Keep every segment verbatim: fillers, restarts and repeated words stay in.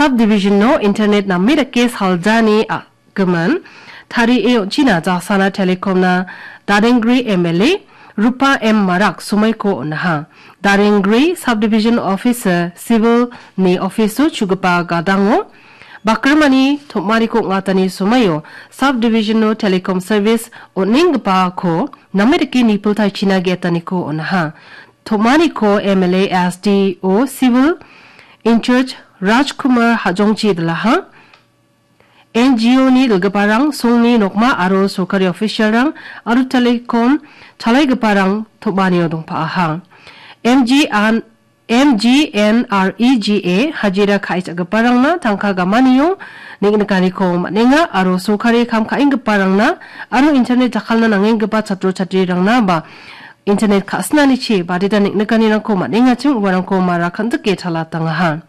Subdivision-o internet name dake saljani a-, gimin tarie on·china Jasana Telecom-na Darenggre M L A Rupa M Marak somoiko on·aha. Darenggre Subdivision Officer Civil-ni office-o chugipa gadango bakrimani tom·ariko ong·atani somoio Subdivision-o Telecom Service on·enggipako name dake nipiltaichina ge·etaniko on·aha. Tom·ariko M L A S D O Civil in-charge Rajkumar Hajongchi dilaha. N G O-ni dilgiparang, songni nokma aro sorkari official-rang aro telecom chalaigiparang tom·anio dongpa·aha. M G N, M G N R E G A hajira ka·e cha·giparangna tangka gamanio neng·nikaniko man·enga aro sorkari kam ka·enggiparangna aro internet jakkalna nangenggipa chatro chatrirangna ba internet ka·sinanichi badita neng·nikanirangko man·engachim uarangko mara kan·dike talatangaha.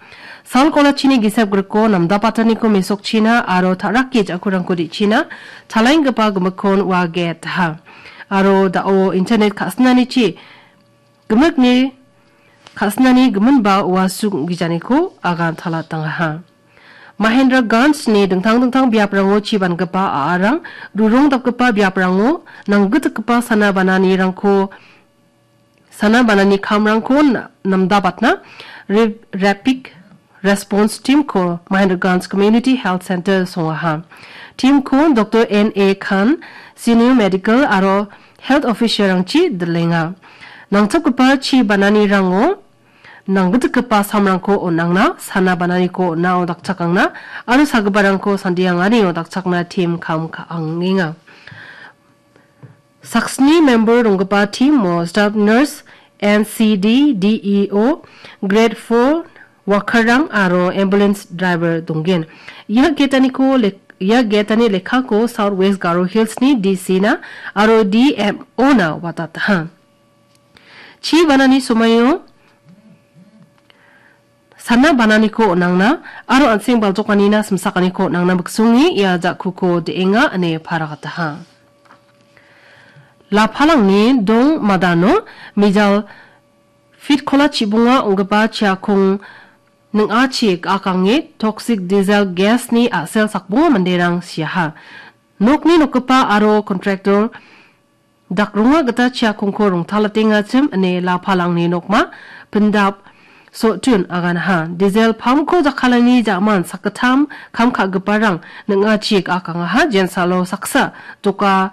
Sal kolachini gisep griko namdapataniko mesokchina aro ta·rake ja·kurangko de·china talaenggipa gimikkon ua ge·etaha. Aro da·o internet ka·sinanichi gimikni ka·sinani giminba ua suk ong·gijaniko agan talatangaha. Mahendraganjni dingtang dingtang biaprango chibangipa a·arang, rurong dapgipa biaprango nanggitgipa sana bananirangko, sana banani kamrangko na-, namdabatna Re-, Rapid Response Team-ko Mahendraganj Community Health Center songaha. Team-ko Doktor N A Khan, Senior Medical aro Health Officer-rangchi dilenga. Nangchopgipa chi bananirango nanggitgipa samrangko on·angna, sana bananiko on·ao dakchakangna aro sagiparangko sandianganio dakchakna team kam ka·angenga. Saksni member donggipa team-o staff nurse, N C D, D E O, grade four worker-rang aro ambulance driver donggen. Ia ge·etaniko lek-, ia ge·etani lekkako South West Garo Hills-ni D C-na aro D M O-na watataha. Chi banani somoio sana bananiko on·angna aro an·seng baljokanina simsakaniko on·angna miksonge ia ja·kuko de·enga ine paragataha. Lapalangni dong madano mijal fitkola chibonga ong·gipa chiakong ning·achi ga·akange toxic diesel gas-ni a·sel sakbonga manderang siaha. Nokni nokgipa aro contractor dakronga gita chiakongko rongtalatengachim ine lapalangni nokma pindap sotun aganaha. Diesel pump-ko jakkalani ja·man sakgittam kam ka·giparang ning·achi ga·akangaha. Jensalo saksa doka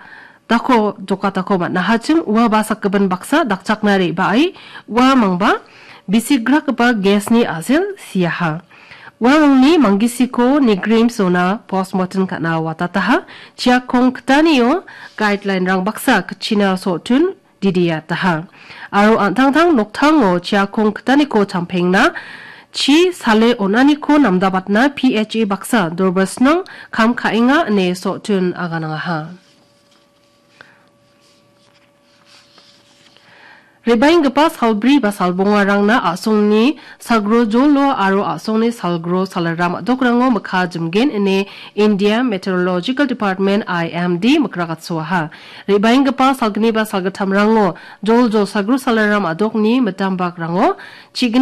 dako, doka dako man·ahachim ua ba sakgipin baksa dakchakna re·bae ua mangba bisigrakgipa gas-ni a·sel siaha. Uamangni manggisiko Nigrim zona postmortem ka·na watataha. Chiakong kitanio guideline-rang baksa kitchina sotun didiataha. Aro an·tangtang noktango chiakong kitaniko champengna chi sale on·aniko namdabatna P H A baksa dorbasnang kam ka·enga ine sotun aganangaha. Re·baenggipa salbri ba salbongarangna a·songni salgro jolo aro a·songni salgro salram a·dokrango mikka jimgen ine India Meteorological Department, I M D, mikrakatsoaha. Re·baenggipa salgni ba salgittamrango joljol salgro salram a·dokni mitam bakrango chigni